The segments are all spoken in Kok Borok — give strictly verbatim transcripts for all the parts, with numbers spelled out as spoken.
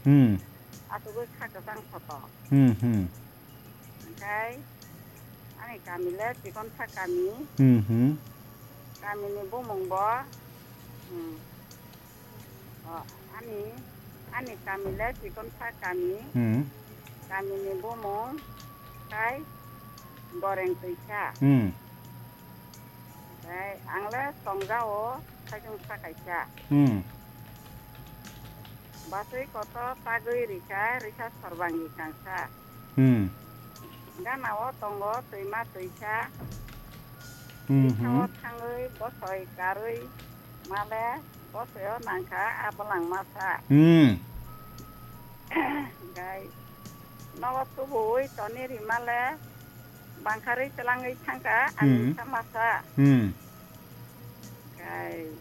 Hmm. Asugwi kha kwchang photo. Hmm, hmm. Hwnkhe ani kami le Chikonsa kami. Hmm, hmm. Kamini bumung bo, hmm, o, ani, ani kami le Chikonsa kami. Hmm. Kamini bumung khai Goreng Twisa. Hmm. Tei ang le tongjao, saichung sa kaisa. Hmm. Basui kotor tagwi rikha, rikha sorbangi kangsa. Hmm. Gana o tongo twima twisa. Hmm, Rikha o hmm. thangwi bosoi karwi male bosoi o nangkha a bwlang masa. Hmm. Gai nogo tubuwi toni rimale bangkharwi twlangwi thangkha ani Hmm. sa masa. Hmm. Kai.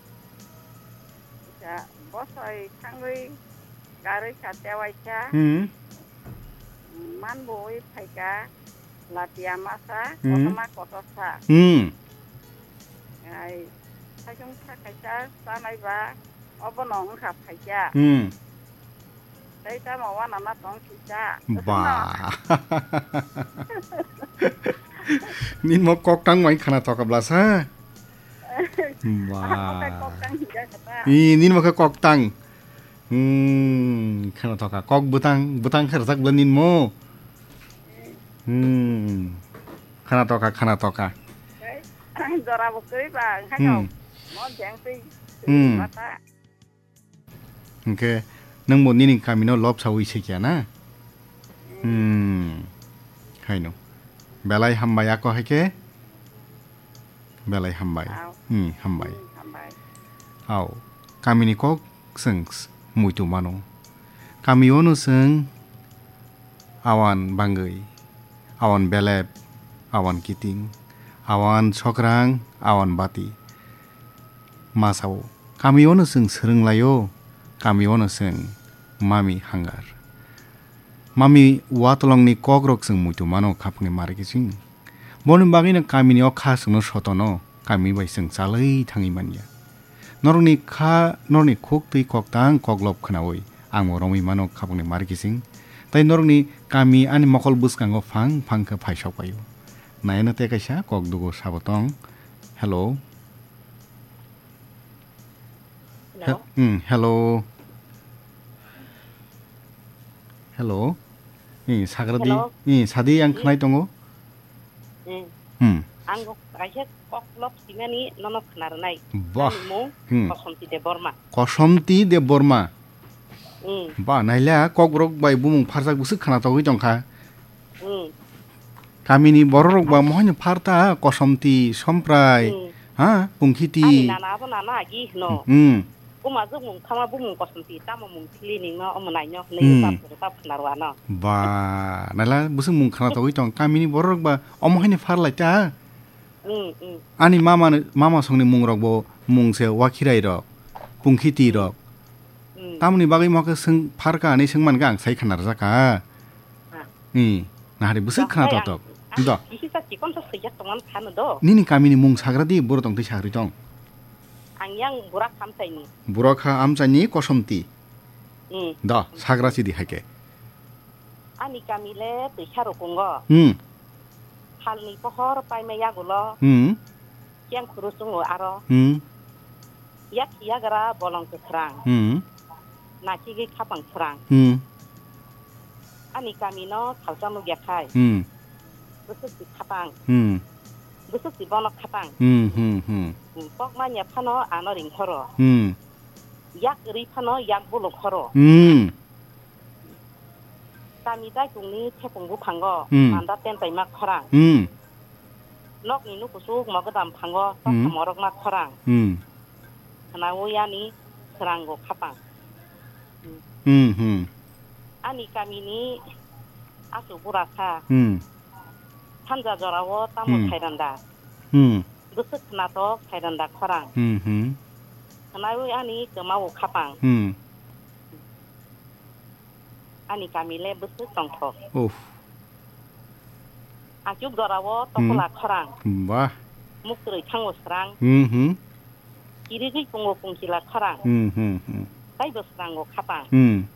Sa bosoi thangwi karwi sa tewai sa. Hmm. Manbui phaika latia masa Hmm. kotorma kotorsa. Hmm. Kai. Saisung sa kaisa sanai ba obono wngkha phaikya. Hmm. Tei tamo wanama tong sisa. Ba. Nini mo kok tang mai khana toka blasa. Ba. Ako kok tang hingga kata. I, nini mo khe kok tang. Hmm, khana toka. Kok bwtang, bwtang khe rwjak bwla nini mo. Hmm. Khana toka, khana toka. Tei jora bo kwrwi ba, hano. Hmm. Mo jeng twi. Hmm. Mata. Hwnkhe nwngbo nini kamino lobsawi se kya na? Hmm. Haino. Belai hambai ako hai khe? Belai hambai. Au. Hmm, hambai. Hmm, hambai. Au. Kamini kok chwng s-, muitu mano. Kamio no chwng awan bangwi, awan belep, awan kiting, awan sokrang, awan bati. Ma sao, kamio no chwng swrwng laio, kamio no chwng mami hangar. Mami watolongni kokrok chwng muitu mano khapangni mari kiching. Boni bagwino kamini o kha chwngno sotono, kami bai chwng chalwi thangwi manya. Norokni kha, norokni khuk twi koktang koklop khnaui, ang bo romwi mano khapangni mari kiching. Tai norokni kami ani mokol bwskango phang phang khe phaisok paio. Nayano tei kaisa kok dugo sabo tong. Hello. Hello. He-, hmm, hello. Hello. Hmm, sagradi. Hello. Hmm, sadi ang Hmm. khnai tongo. Hmm. Hmm. Ang kaisa kok lok simani nono khna rwnai. Bah. Ani mung Hmm. Kosomti Debbarma. Kosomti Debbarma. Hmm. Ba, naila kokborok bai bumung pharjak bwswk khna togwi tongkha. Hmm. Kamini bororok ba mohai no pharta, Kosomti, Somprai, Hmm. ha, Pungkhiti. Ani nana abo nana agi hino. Hmm. Buma jwk mung thama bumung Kosomti, tamo mung thili ningno omo naino hwnwi Hmm. bap rwkha khna rwano. Ba, naila bwswk mung khna togwi tong. Kamini bororok ba omo hai no pharlai ta. Hmm, hmm. Ani mama, mama songni mungrok bo mung se Wakhirai rok, Pungkhiti rok. Hmm. Tamoni bagwi mo khe swng pharka hinwi swng mankha ang sai khna rwjak kha. Ah. Hmm. Nahari bwswk khna Tei tok ang, tok. ang Do. Kisi sa chikon sa swijak tongmani phano do. Nini kamini mung sagra di, boro tong twi sagri tong. Ang yang Burak Hamchaini. Burak ha Amchaini Kosomti. Hmm. Do, sagra sidi hai khe. Ani kami le Twisa Rukungo. Hmm. Salni pohor paima yagulo. Hmm. Yang khuru chungo aro. Hmm. Yak yagra bolong kwsrang. Hmm. Nakigwi khapang srang. Hmm. Ani kami no salsa nukya khai. Hmm. Bwswk si khapang. Hmm. Bwswk si bono khapang. Hmm, hmm, hmm. Hmm, kok manya phano ano ring horo. Hmm. Yak ri phano yak bulu horo. Hmm. Kami daikungni thepung buphango Hmm. manda tentai ma khorang. Hmm. Nokni nukusuk mogodam phango Hmm. tokha morok ma khorang. Hmm. Khnaui ani srango khapang. Hmm, hmm. Ani kamini asu bura kha. Hmm. Sanja jorao tamo Hmm. khairanda. Hmm. Bwswk khnatok khairanda khorang. Hmm, hmm. Khnaui ani kwmao khapang. Hmm. Ani kami le bwswk tongthok. Uff. Achuk jorao Hmm. tokola khorang. Bah. Muktrwi thango srang. Hmm, hmm. Kirigwi pungo pungkila khorang. Hmm, hmm, hmm. Taibo srango khapang. Hmm.